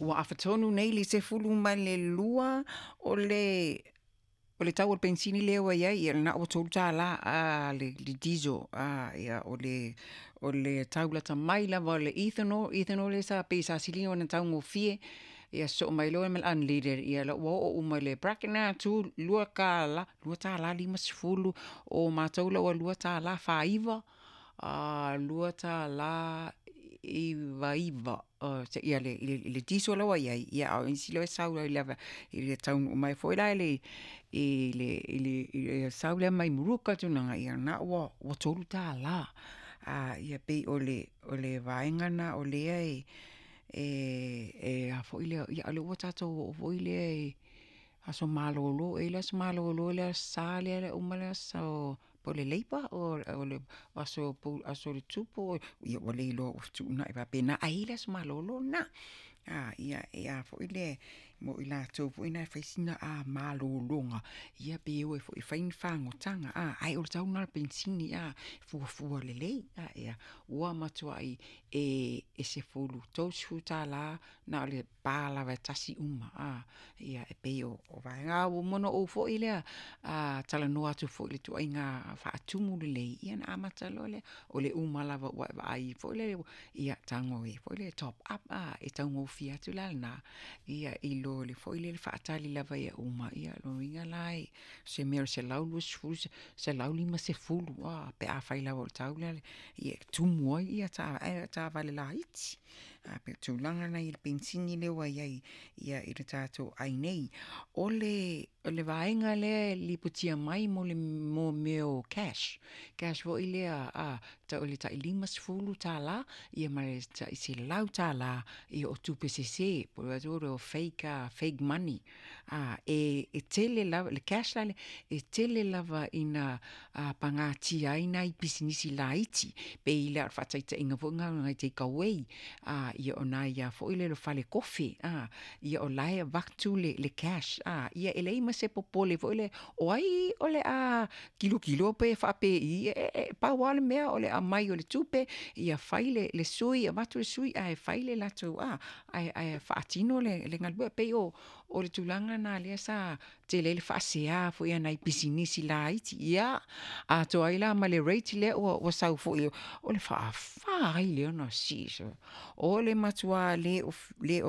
Ua afa tonu nei le 12 o le tau o le penisini lea ua i ai, ia lena ua $3 le diesel. Ia o le tau lata mai lava o le ethanol, ethanol lea sa pei sa sili ona taugofie, ia sosoo mai loa ma le unleaded, ia la ua oo uma i le bracket lena $2, $2.50. O matou la ua $2.49, $2.99 ia le diesel la ua i ai. Ia a o isi la e sau ai lava i le taunuu mai foi la i le sau lea mai Muruka tulaga, ia na ua $3. Ia pei o le vaega lena o lea e a foi lea, ia o lea ua tatou oo foi lea i aso malolo, e i ai le aso malolo le Aso Sa lea e uma le aso po o le Labour o le aso o le Tupu, ia ua le iloa ua fetuunai faapena, ae i ai le aso malolo lena. Ia e a foi lea mo i latou foi na e fai sina malologa, ia pe o ai foi e fai ni fagotanga, ae o le tau lena o le penisini, fuafua lelei. Ia ua matuai e $30 na o le pa lava e tasi uma. Ia e pei o vaega. A ua uma ona ou foi lea talanoa atu foi i le ituaiga faatumu lelei, ia ona amata loa lea, o le uma lava ua e vaai foi lea, ia tago e foi lea e top up, e taugofie atu la lena, ia i lo le foi lele faatali lava ia uma. Ia o lona uiga la o se mea o le 120, 150 pe afai lava o le tau lea e tumu ai taavale laiti. Ae pei o le tulaga lena i le penisini lea ua i ai ia i le tatou ai nei. O le vaega lea e lipotia mai mo mea o cash, cash foi lea tau o le tai $50 ia ma le tai $100 ia o tupe sese po o fake money. E tele lava le cash la e tele lava ina pagatia ai nai pisinisi laiti, pei la o le faataitaiga foi lena o nai takeaway, ia o nai a foi lele o fale kofe, ia o la e avatu le cash, ia e leai ma se popole foi lea o ai o le a tilotilo pe faapei, e pau lava le mea o le aumai o le tupe, ia fai le sui, avatu le sui ae fai le latou ae faatino le galuega. E pei o le tulaga lena lea sa tele ai le faasea foi a nai pisinisi laiti, ia atoa ai la ma le rate lea ua sau foi o le faafa ai lea ona sii. O le matua le o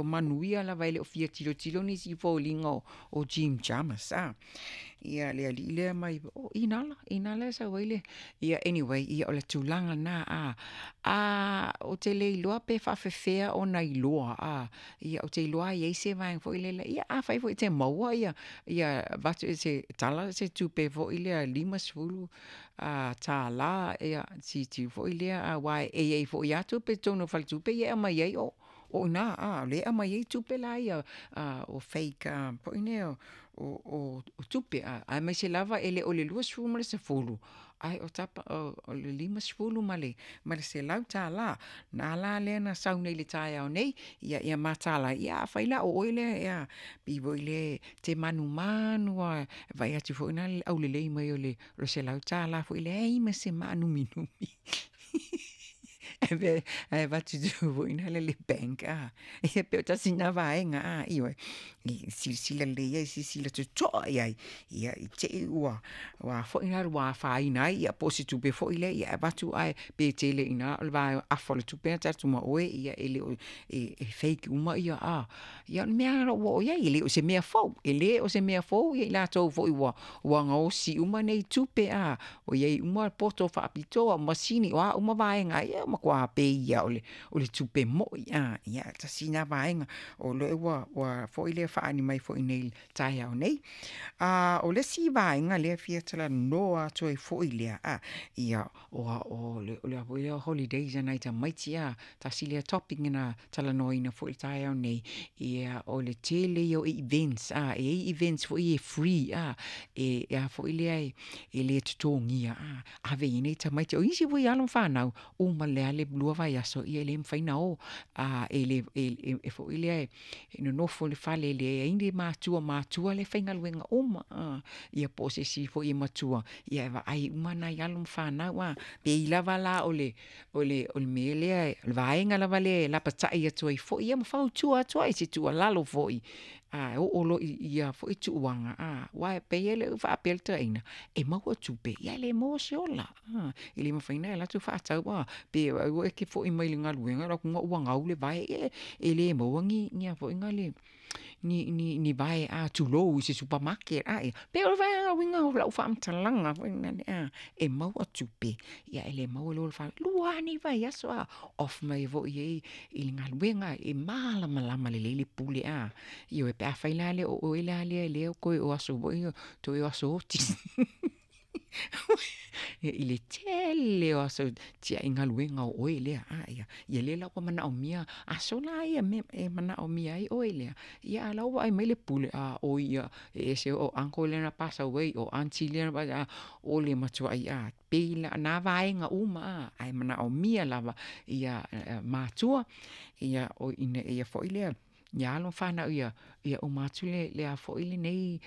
manuia lava, e le o fia tilotilo nisi i foliga o Jim Chalmers, ia le alii lea mai o Inala, Inala e sau ai le. Ia anyway, ia o le tulaga lena ou te le iloa pe faafefea ona iloa. Ia ou te iloa e i ai se vaega foi lele, ia afai foi e te maua ia avatu se tala se tupe foi lea $50, ia tilotilo foi lea aua e i ai foi lava tupe i totonu o faletupe ia e aumai ai o i ina, lea e aumai ai tupe la ia o fake foi nei o tupe, aemaise lava e le o le 20 ma le 10 ae o tapa o le 50 ma le $100. Na la lea na sau nei i le taeao nei, ia mataala ai. Ia afai la o oe lea ia pei foi lea te manumanu lava e vaai atu foi la i le aulelei mai o le $100 foi, leai ma se maanuminumi ae avatu foi lea i le bank. Ia pei o tasi lena vaega, ioe, e silasila lelei i ai, silasila totoa i ai, ia i te i ua foi la ua afaina ai, ia po o se tupe foi lea ia avatu ae pe tele i ina o le afa o le tupe na avatu ma oe, ia e le o e fake uma ia. Ia o le mea lava ua oo i ai, e le o se mea fou, e le o se mea fou ia i latou foi ua gaosi uma nei tupe, ua i ai uma poto faapitoa, o masini o a uma vaega, ia ua matua pei lava o le tupe moi. Ia tasi lena vaega o lea ua foi lea faaali mai foi nei i le taeao nei. O le isi vaega lea e fia talanoa atu ai foi lea, ia o le foi lea holidays a nai tamaiti, tasi lea topic na talanoaina foi i le taeao nei. Ia o le tele ia o events, e i ai events foi e free, e a foi lea e le totogia, ave i ai nei tamaiti. O isi foi alo ma fanau uma lea. le a le 2 vaiaso, ia e le mafai ona o. E foi lea e nonofo i le fale e leai ni matua, o matua lea e faigaluega uma. Ia po o se isi foi e matua e vaai uma nai alo ma fanau. E pei lava la o le mea lea, o le vaega lava lea e lapatai atu ai foi ma fautua atu ai, i se tuualalo foi, a oo loa i ia foi tulaga, aua e pei ona ou faapea i le toeaina, e maua tupe ae le maua se ola. E le mafai ona e alu atu faatau pe vaai foi e te foi mai i le galuega e alu atu ua gau le vae, ia e le maua ni vae tulou i se supermarket. E pei o le uiga o lau faamatalaga foi lea e maua tupe, ae le maua le ola. E 2 lava nei vaiaso, off mai foi i ai i le galuega e malamalama lelei le pule. Ioe, pe afai la o oe la lea toe o aso foi ia toe o aso oti i le tele o aso e tiai galuega o oe lea. Ia lea la ua manaomia aso la ia e manaomia ai oe lea, ia ae la ua vaai mai le pule, oi ia e ese o uncle lea na pass away, o aunty lea na, o le matuai e pei la o na vaega uma ae manaomia lava ia matua ina ia foi lea ia alo ma fanau ia uma atu lenei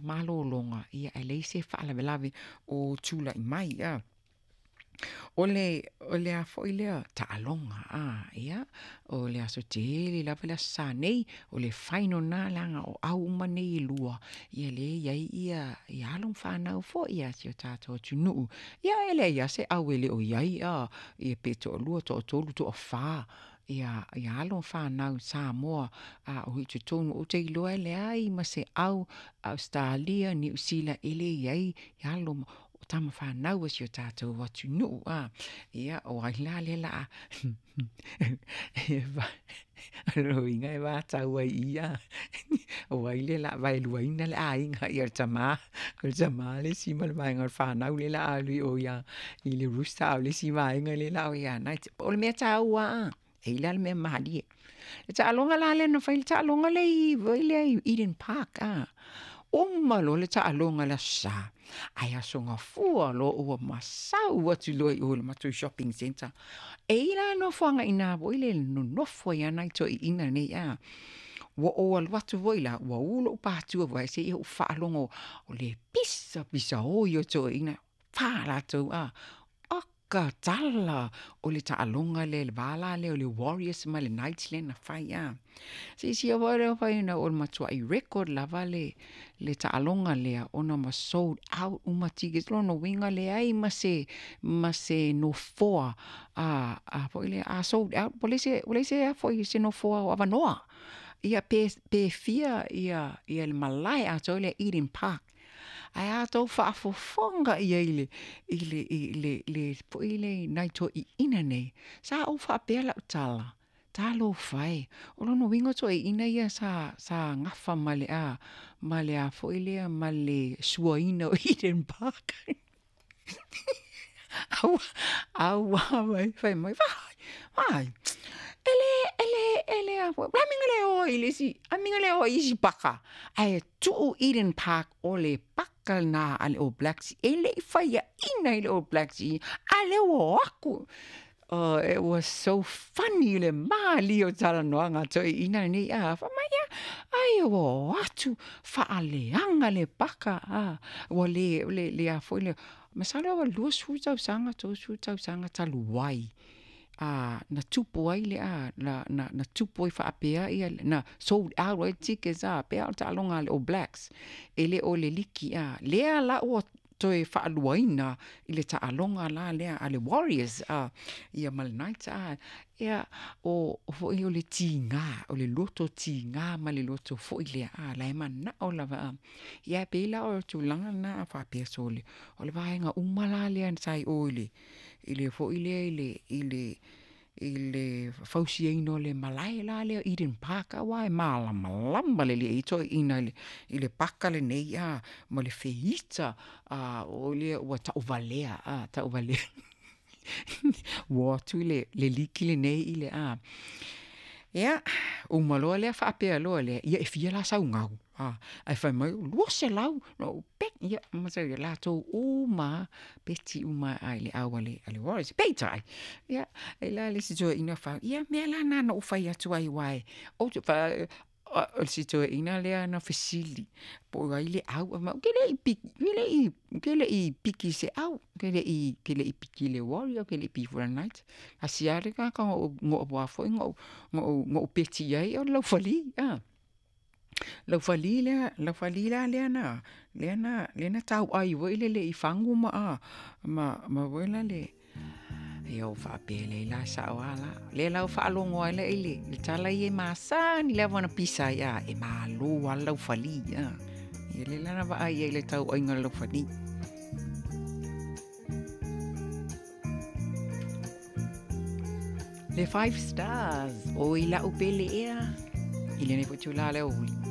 malologa ae leai se faalavelave o tulai mai. O le a foi lea taaloga, ia o le aso tele lava le Aso Sa nei, o le final lena leaga o au uma nei e lua, ia lea e i ai alo ma fanau foi a si o tatou atunuu. Ia e leai lava se au e le o i ai, ia pe toalua, toatolu, toafa ia alo ma fanau Samoa o i totonu. Ou te iloa e leai ma se au Ausetalia, Niu Sila e le i ai alo o tama fanau a si o tatou atunuu. Ia, o ai la lea o le a o lona uiga e vatau ai i i, o ai lea o le a vaeluaina le aiga, ia o le tama le isi ma le vaega o le fanau lea o le a alu i o i le Roosters a o le isi vaega lea o le a o ia Knights. O le mea taua lava, e i ai la le mea malie. Le taaloga la lea na fai, le taaloga lea i Eden Park, uma loa le taaloga i le Aso Sa, ae Aso Gafua loa ua masau atu loa i o i le matou shopping centre. E i ai la nofoaga i ina foi lea e nonofo ai lava nai toeaiina nei a. Ua ou alu atu foi la, ua u lou patu se i ou faalogo o le pisapisa oi o toeaiina, fa latou a. Oka tala o le taaloga lea i le va la lea o le Warriors ma le Knights lea na fai a. Silasila foi lea ua o le matuai record lava le taaloga lea ona ma sold out uma tickets. O lona uiga e leai ma se nofoa foi lea a sold out ua leai se nofoa o avanoa. Ia pe fia le malae atoa lea Eden Park. Ae a outou faafofoga i ai i nai toeaiina nei, sa ou faapea lau tala, talofa e, o lona uiga o toeaiina ia sa gafa ma le ma le a foi lea ma le suaina o Eden Park. Auā mai, fai mai, vai, vai, e le, e le, e le a foi, o le a le mea na le o ai i le isi, a le mea na le o ai i isi paka, ae tuu Eden Park o le paka lena a le All Blacks, e le i faiaina i le All Blacks i ia, a o lea ua o atu. Oh, it was so funny le malie o talanoaga a toeaiina lenei, a fai mai, ia, ai ua o atu faaleaga le paka, a, ua le, le, le a foi le, masalo ua 20 tausaga, 30 tausaga talu ai, na tupu ai le a, na tupu ai faapea, ia, na sold out ai tickets, a, pei lava o le taaloga a le All Blacks, e le o le liki, a, lea la ua toe faaluaina i le taaloga la lea a le Warriors, a, ia ma le Knights, a, ia, o foi o le tiga, o le loto tiga ma le loto foi lea, a, la e manao lava, a, ia e pei la o le tulaga lena a faapea, sole, o le vaega uma la lea sa i o i le, i le foi lea i le fausiaina o le malae la lea o Eden Park, aua e malamalama lelei ai toeaiina i le paka lenei, a, ma le feita, a, o lea ua tauvalea, a, tauvalea. Ua o atu le liki lenei i le, a. Ia, uma loa lea faapea loa lea, ia e fia la sau gau? Ae fai mai, 200. Na ou, pek, ia latou uma lava, peti uma lava i le au a le Warriors. Peitai, ia, e i ai la le isi toeaina fai, ia o mea la na na ou fai atu ai aua ou te o le isi toeaina lea na fesili po o ai le au, fai mai ou te le i ou te le i piki i se au, ou te le i piki i le Warrior ou te le i piki foi i le Knights. Tasi lava le tagata na ou peti i ai o le Laufali. Laufali lea, Laufali la lea na tauai foi lele i fagu ma foi lale, ia ou faapea lea, e sao lava la. O lea la ua faalogo ai la i le tala ia e masani lava ona pisa ai e malo lava le laufali. Ia lea la na vaai ai i le tauaiga a le laufali. Le Five Stars, oi la'u pele ea i lenei foi itulā o le aoauli.